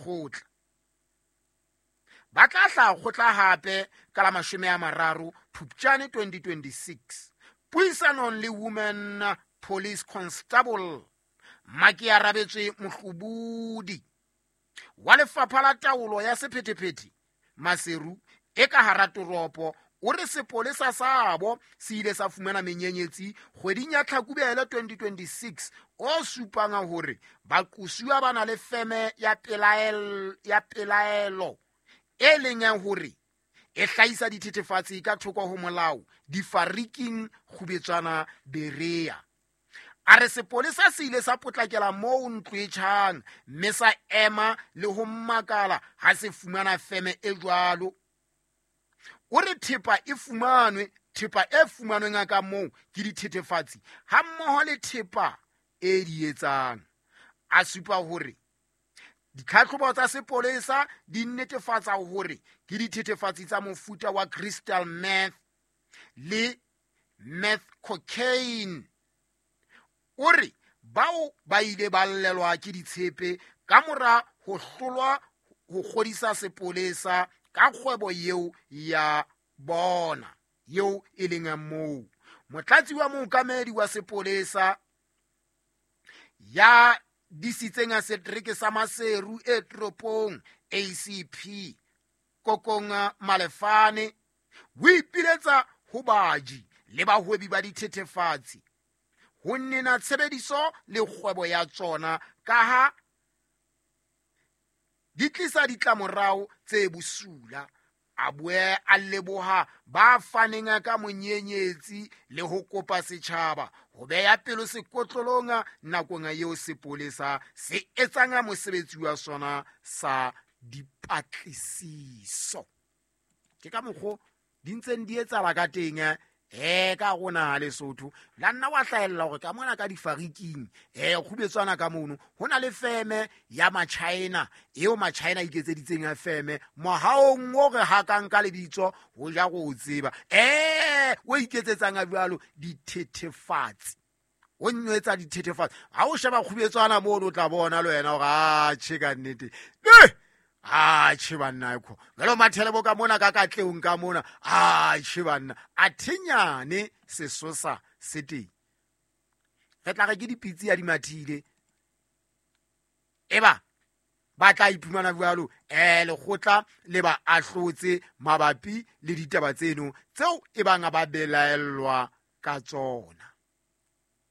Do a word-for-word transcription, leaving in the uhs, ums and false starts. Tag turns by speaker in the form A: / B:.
A: lekgotla. Ba tla hlaha kgotla hape ka la mashome a mararo Phupjane twenty twenty-six. Puisanong le Women Police Constable Makiarabetswe Mohlobudi wa lefapha la taolo ya sephethephethe Maseru e ka hara toropo, o re sepolesa sabo se ile sa fumana menyenyetsi kgweding ya Tlhakubele twenty twenty-six o supang hore baqosuwa ba na le feme ya pelaelo, ya pelaelo e leng ya hore e hlahisa dithethefatsi ka thoko ho molao difariking Kgubetswana Berea. A re sepolesa se ile sa potlakela moo ntlo e tjhang mme sa ema le ho makala ha se fumana feme e jwalo. O re thepa e fumanwe, thepa e fumanweng ka moo ke dithethefatsi hammoho le thepa e di etsang. A supa hore ditlhatlhobo tsa sepolesa di netefatsa hore ke dithethefatsi tsa mofuta wa crystal meth le meth cocaine. O re bao ba ile ba llelwa ke ditshepe ka mora ho hlolwa ho kgodisa sepolesa ka kgwebo eo ya bona eo e leng ya moo. Motlatsi wa mookamedi wa sepolesa ya disitseng a setereke sa Maseru e toropong A C P Kokonga Malefane o ipiletsa ho baji le bahwebi ba dithethefatsi ho nena tshebediso le kgwebo ya tsona ka ha di tlisa ditlamorao tse bosula. A boe a leboha ba faneng ka monyenyetsi le ho kopa setjhaba ho beha pelo sekotlolong nakong eo sepolesa se etsang mosebetsi wa sona sa dipatlisiso. Ke ka mokgo di ntseng di etsahala ka teng eh ka rona Lesotho. La nna wa hlahella hore ka mona ka difariking eh kgubetswana ka mono ho na le feme ya Machina eo Machina iketseditseng ya feme mohaong o re hakang ka lebitso ho ja go tseba eh o iketsetsang a jwalo dithethefatsi o nwetsa dithethefatsi. Ha o sheba kgubetswana mono o tla bona le wena hore a tjhe ka nnete eh a tjhe banna ekho jalo mathele bo ka mona ka katleong ka mona a tjhe banna a thinyane sesosa se teng. Re tla re ke dipitsi ya dimathile eba ba tla iphumana jwalo eh lekgotla le ba ahlotse mabapi le ditaba tseno tseo e bang ba belaellwa ka tsona.